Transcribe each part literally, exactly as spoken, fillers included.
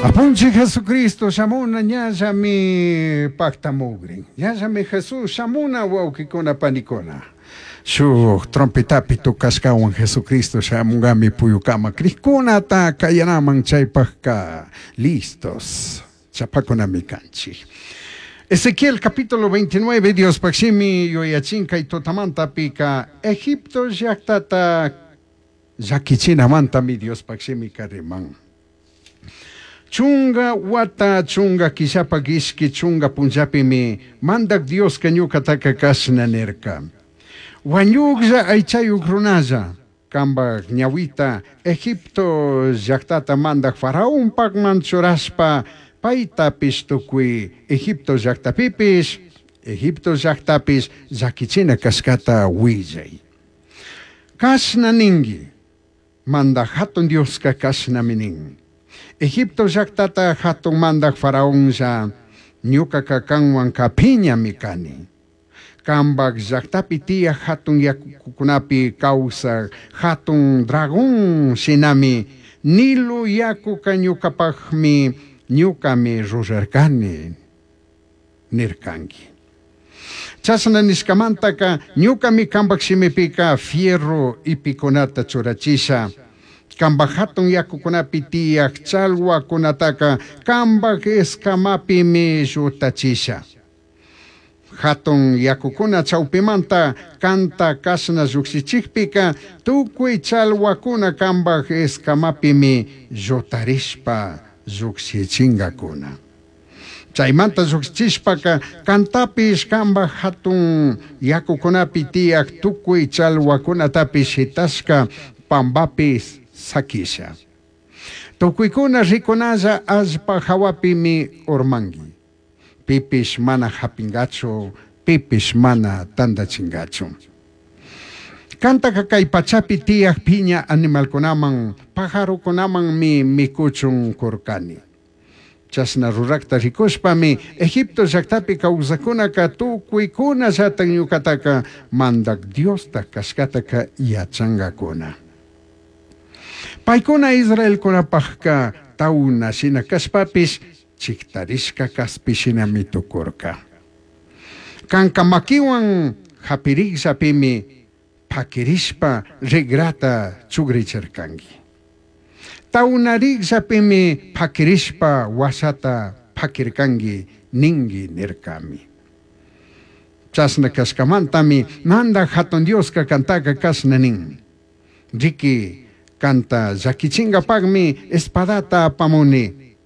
Apunchik Jesucristo shamuna ñallami pactamugrin. Ñallami Jesús shamuna wawqikuna panikuna. Shuk trompetapi tukashkawan Jesucristo shamungami puyukama krikkunata kayanaman chaypajka listos chapakunami kanchik. Ezequiel capítulo veintinueve, Dios pakshimi yuyachin kay tutamantapika Egipto llaqtata llakichinamantami Dios pakshimi kariman. Chunga wata chunga killapa ishki chunga punllapimi mandak Dioska ñuqataka kashna nirka. Wañuqlla aychayuq runalla kambaq ñawita Egipto llaqtata mandak faraonpaqman churashpa paytapish tukuy Egipto llaqtapipish Egipto llaqtapish llakichina kashkata willay. Kashna ninki mandak hatun Dioska kashnami nin. Egipto llaqtata hatun mandak faraonlla ñuqaqa kanwan kapiñami kani. Kambaq llaqtapi tiyaq hatun yakukunapi kawsaq hatun dragón shinami Nilo yakuka ñuqapaqmi ñuqami rurarkani nirkanki. Chashna nishkamantaka ñuqami kambaq shimipika fierro ipikunata churachisha. Kambaq hatun yakukunapi tiyaq challwakunataka kambaq escamapimi llutachisha. Hatun yakukuna chawpimanta kanta kashna llukshichikpika tukuy challwakuna kambaq escamapimi llutarishpa llukshichinkakuna. Chaymanta llukshichishpaka kantapish kambaq hatun yakukunapi tiyaq tukuy challwakunatapish shitashka pampapish sakisha. Tukuykuna rikunalla allpa hawapimi urmanki. Pipish mana hapingachu, pipish mana tantachingachu. Kantaka kay pachapi tiyaq piña animalkunaman, pajarukunamanmi mikuchun kurkani. Chashna rurakta rikushpami Egipto llaqtapi kawsakunaka tukuykuna llatan ñuqataka mandak Diosta kashkataka yachankakuna. Paykuna Israelkunapaqka tawna shina kashpapish chiktarishka kaspi shinami tukurka. Kanka makiwan hapirikllapimi pakirishpa rigrata chugrichirkanki. Tawnarikllapimi pakirishpa wasata pakirkanki ninki nirkami. Chashna kashkamantami mandak hatun Dioska kantaka kashna nin. Riki kanta llakichinkapaqmi espadata apamuni.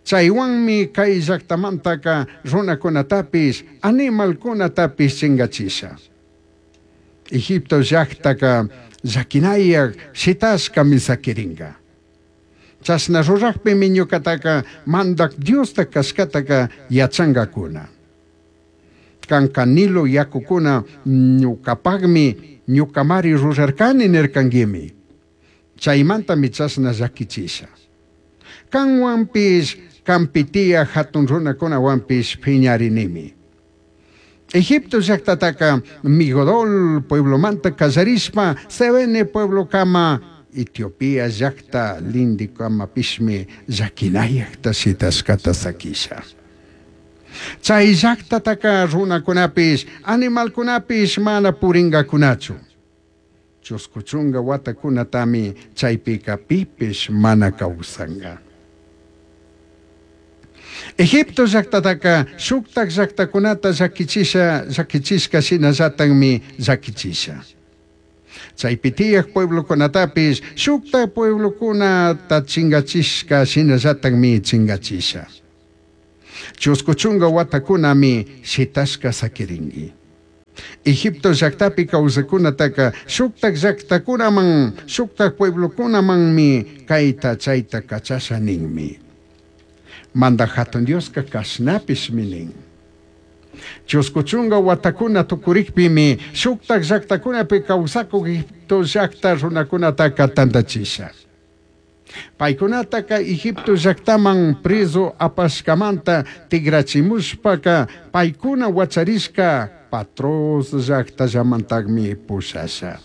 Chaywanmi kay llaqtamantaka runakunatapish animalkunatapish chinkachisha. Egipto llaqtaka llakinayaq shitashkami sakirinka. Chashna ruraqpimi ñuqataka mandak Diosta kashkataka yachankakuna. Kanka Nilo yakukuna ñuqapaqmi ñuqamari rurarkani nirkankimi. Chaymantami chashna llakichisha. Kanwanpish kampi tiyaq hatun runakunawanpish phiñarinimi. Egipto llaqtataka Migodol pueblomanta kallarishpa Sevene pueblokama Etiopía llaqta lindikamapishmi llakinayaqta shitashkata sakisha. Chay llaqtataka runakunapish animalkunapish mana purinkakunachu. Chusku chunka watakunatami chaypika pipish mana kawsanka. Egipto llaqtataka shuktak llaqtakunata llakichisha llakichishka shinallatanmi llakichisha. Chaypi tiyaq pueblokunatapish shuktak pueblokunata chinkachishka shinallatanmi chinkachisha. Chusku chunka watakunami shitashka sakirinki. Egipto llaqtapi kawsakunataka shuktak llaqtakunaman shuktak pueblokunamanmi kayta chayta kachasha ninmi. Mandak hatun Dioska kashnapishmi nin. Chusku chunka watakuna tukurikpimi shuktak llaqtakunapi kawsakuq Egipto llaqta runakunataka tantachisha. Paykunataka Egipto llaqtaman preso apashkamanta tigrachimushpaka paykuna wacharishka Patros llaqtallamantaqmi pushasha.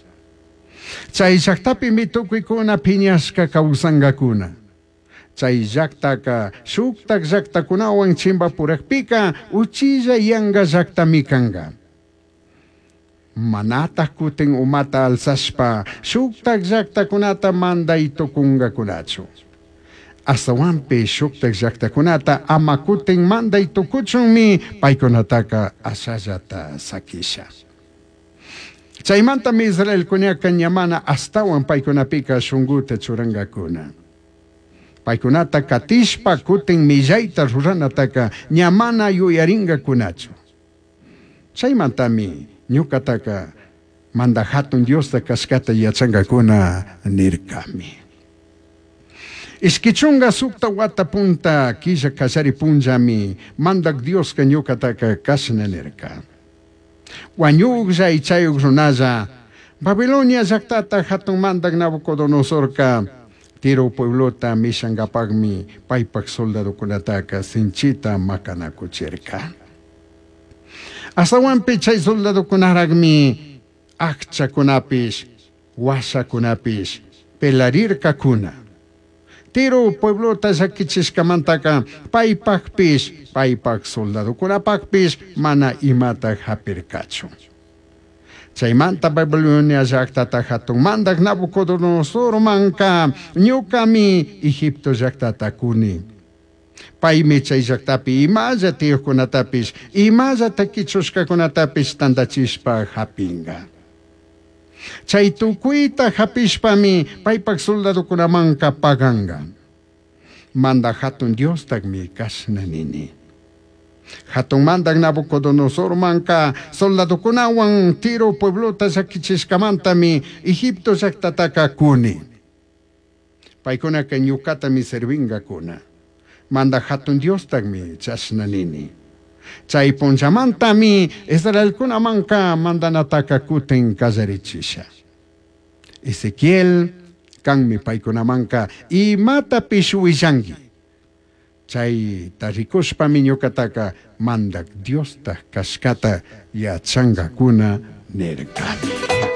Chay llaqtapimi tukuykuna phiñashka kawsankakuna. Chay llaqtaqa shuqtaq llaqtakunawan chimpapuraqpiqa uchilla yanqa llaqtami kanqa. Manataq kutin umata alzashpa shuqtaq llaqtakunata manday tukunqakunachu. Astawanpi shuqtaq llaqtakunata ama kutin manday tukuchunmi paykunataqa ashallata sakisha. Chaymantami Israelkunaqa ñamana astawan paykunapika shunquta churanqakuna. Paykunata katishpa kutin millayta ruranataka ñamana yuyarinqakunachu. Chaymantami ñuqataka mandaj hatun Diosta kashkata yachanqakuna nirkami. Ishkichunga sukta wata punta killa kallari punllami mandak Dioska ñuqataka kashna nirka. Wañuqlla ichayuq runalla Babilonia llaqtata hatun mandak Nabucodonosorka Tiro pueblota mishankapaqmi paypaq soldadokunataka sinchita makanakuchirka. Astawanpi chay soldadokunaraqmi aqchakunapish washakunapish pelarirkakuna. Tiro pueblota llakichishkamantaka paypaqpish paypaq soldadokunapaqpish mana imata hapirkachu. Chaymanta Babilonia llaqtata hatun mandaq Nabucodonosormanka ñuqami Egipto llaqtata kuni. Paymi chay llaqtapi imalla tiyuqkunatapish imalla takichushkakunatapish tantachishpa hapinqa. Chay tukuyta hapishpami paypaq soldadokunamanka paganqa. Mandaq hatun Diostaqmi kashna nini. Hatun mandaq Nabucodonosormanka soldadokunawan Tiro pueblota llakichishkamantami Egipto llaqtataka kuni. Paykunaka ñuqatami servinqakuna. Mandaq hatun Diostaqmi chashna nini. Chay punllamantami Israelkunamanka mandanataka kutin kallarichisha. Ezequiel kanmi paykunamanka imatapish willanki. Chayta rikushpami ñuqataka mandak Diosta kashkata yachanqakuna nirkami.